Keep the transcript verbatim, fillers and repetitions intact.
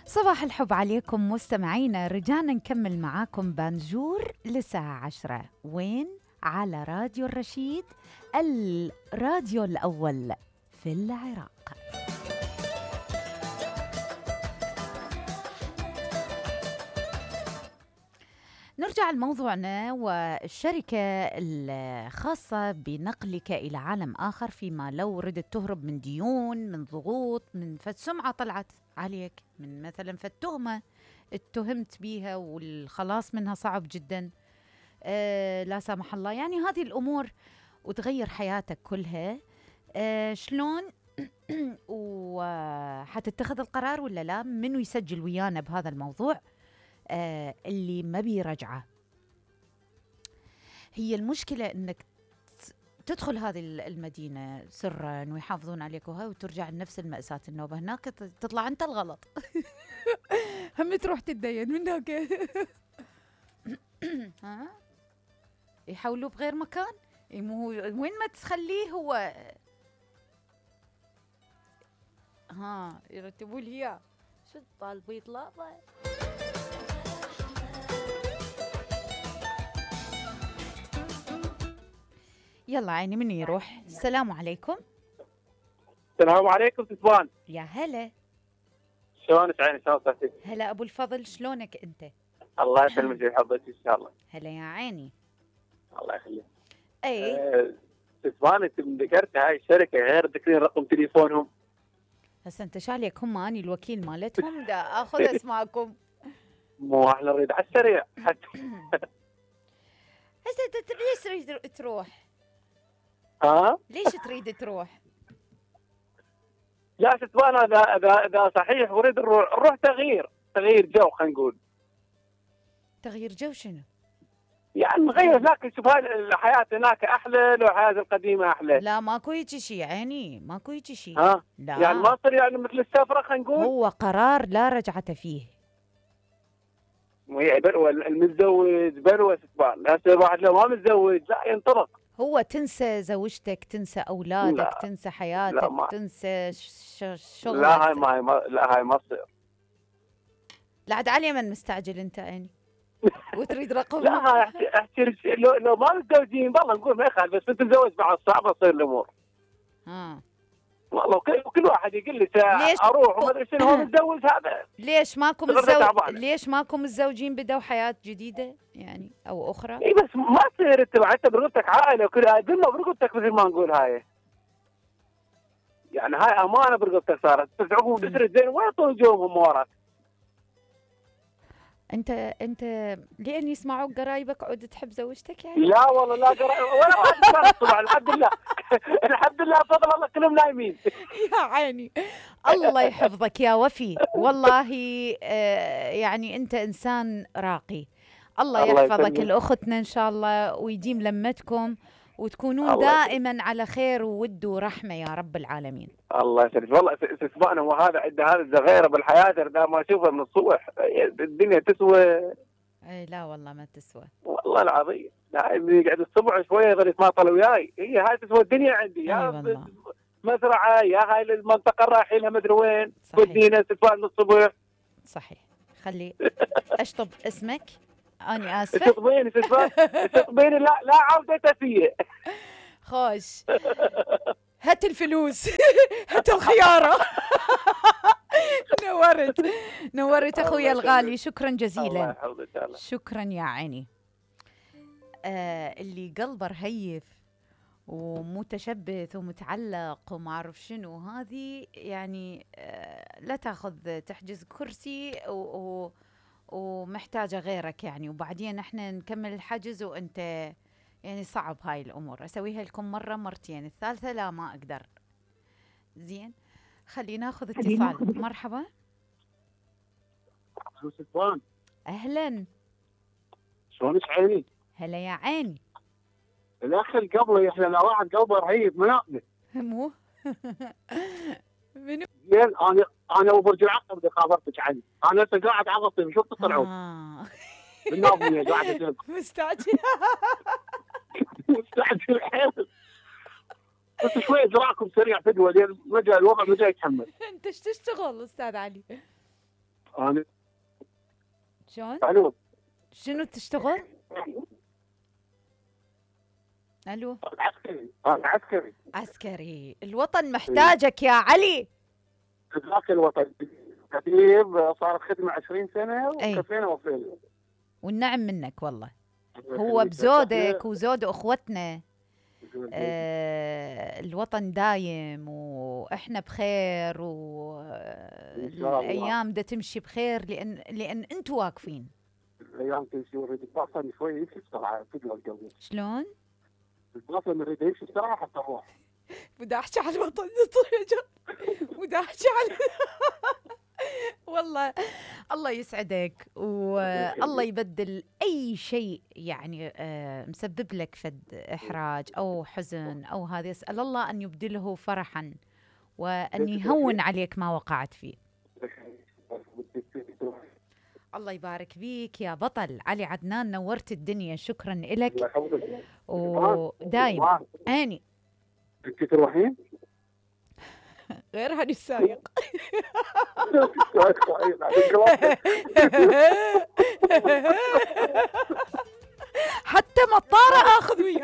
صباح الحب عليكم مستمعينا، رجعنا نكمل معاكم بانجور للساعة عشرة. وين؟ على راديو الرشيد، الراديو الأول في العراق. نرجع لموضوعنا، والشركة الخاصة بنقلك إلى عالم آخر فيما لو ردت تهرب من ديون، من ضغوط، من فد سمعة طلعت عليك، من مثلا فد تهمة اتهمت بيها والخلاص منها صعب جدا، آه لا سامح الله، يعني هذه الأمور وتغير حياتك كلها. آه شلون وحتتخذ القرار ولا لا؟ منو يسجل ويانا بهذا الموضوع؟ آه اللي ما بيرجعه. هي المشكلة انك تدخل هذه المدينة سرا ويحافظون عليك وهاي، وترجع لنفس المأساة النوبة هناك، تطلع انت الغلط. هم تروح تتدين من هناك. ها يحولوه بغير مكان، مو وين ما تخليه هو. ها يرتبوا لي اياه، شو طالبوا يطلع. يلا عيني من يروح. السلام عليكم. السلام عليكم سفوان. يا هلا. شلونك عيني؟ شلون صحتك؟ هلا ابو الفضل، شلونك انت؟ الله يسلمك ويحفظك ان شاء الله. هلا يا عيني. الله يخليك. اي أه سفوان، انت من ذكرت هاي الشركه غير ذكرين رقم تليفونهم. هسه انت شاليك، هم اني الوكيل مالتهم، دا اخذ اسماءكم. مو احنا نريد على السريع حتى. هسه انت ليش تريد تروح؟ ها؟ ليش تريد تروح؟ لا سفوان، اذا اذا اذا صحيح اريد نروح نروح تغيير تغيير جو، خلينا نقول. تغيير جو شنو؟ يعني نغير هناك، نشوف هاي الحياه هناك احلى لو الحياه القديمه احلى. لا ماكو هيك شيء عيني، ماكو هيك شيء. ها؟ لا يعني ما تصير يعني مثل السفره، خلينا نقول. هو قرار لا رجعة فيه. وهي بلوى المتزوج بلوى سفوان، هسه الواحد لو ما متزوج لا ينطلق. هو تنسى زوجتك، تنسى اولادك، لا. تنسى حياتك، لا ما. تنسى شغلك. لا هاي ما هي ما لا هاي ما تصير. لا عاد علي من مستعجل انت عيني وتريد رقم. لا هاي احكي احكي لو, لو ما متزوجين والله نقول ما يخالف، بس متزوج بعد صعبه تصير الامور. ها والله كل, كل واحد يقول لي ليش اروح وما ادري شنو، هو متزوج هذا. ليش ماكو متزوج؟ ليش ماكو متزوجين بدوا حياه جديده يعني او اخرى؟ اي بس ما تصير انت انت برقبتك عائله وكل دمه برقبتك مثل ما نقول هاي. يعني هاي امانه برقبتك صارت، بس عقب تسرد زين وين يطول جوهم وراك؟ انت انت لين يسمعوك قرايبك عود تحب زوجتك يعني؟ لا والله لا قرايب ولا واحد طبعا. الحمد لله. الحمد لله بفضل الله كلهم نايمين. يا عيني الله يحفظك يا وفي، والله آه يعني انت انسان راقي. الله, الله يحفظك لاختنا ان شاء الله، ويديم لمتكم وتكونون دائما على خير وود ورحمه يا رب العالمين. الله يسلمك. والله سبحانه وهذا عنده هذا الزغيره بالحياه، اذا ما اشوفه من الصبح الدنيا تسوى. اي لا والله ما تسوى والله العظيم. لا يقعد الصبح شويه يظل يتماطل وياي، هي هاي تسوى الدنيا عندي. يا مزرعه يا هاي المنطقه رايحين مدري وين، ودينا سفان الصبح. صحيح. خلي اشطب اسمك، أنا آسفة. تطبيني تطبيني لا لا عودة فيه. خوش هات الفلوس. هات الخيارة. نورت نورت أخويا الغالي، شكرا جزيلا. شكرا يا عيني. آه اللي قلبه رهيف ومتشبث ومتعلق وما أعرف شنو، هذه يعني آه لا تأخذ تحجز كرسي و, و ومحتاجة غيرك يعني، وبعدين احنا نكمل الحجز وانت يعني صعب هاي الامور. اسويها لكم مرة مرتين، الثالثة لا ما اقدر. زين خلينا ناخذ اتصال. مرحبا. سلطان. اهلا. شلونك عيني؟ هلا يا عيني. الاخ قبله احنا لو واحد قلبه رهيب مناقبه. مو منو؟ زين انا انا وبرج العقرب اللي خابرتك عني، انا هسه قاعد عقب شوف تطلعون. اه بالناظميه قاعد اشوف. مستعجل. مستعجل حيل. بس شويه ذراعكم سريع فدوه لين رجع الوضع ما جاي يتحمل. انت ايش تشتغل استاذ علي؟ انا شلون؟ الو شنو تشتغل؟ الو عسكري. انا عسكري. عسكري. الوطن محتاجك يا علي. ذاك الوطن كثير، صارت خدمه عشرين سنه أي. وكفينا وفينا. والنعم منك والله. هو بزودك وزود اخوتنا. آه الوطن دايم واحنا بخير، والايام دا تمشي بخير لان لان انتم واقفين. الايام تمشي ونريد الباصه شوي يمشي بسرعه تقدر القلب. شلون؟ الباصه نريد يمشي بسرعه حتى نروح. بدي احكي على الوطن بدي احكي على والله الله يسعدك والله يبدل اي شيء يعني آه مسبب لك فد احراج او حزن او هذا، اسال الله ان يبدله فرحا وان يهون عليك ما وقعت فيه. الله يبارك بيك يا بطل علي عدنان، نورت الدنيا. شكرا لك ودايم اني. انت تروحين؟ غير هذا السايق. حتى مطارة اخذ وياي.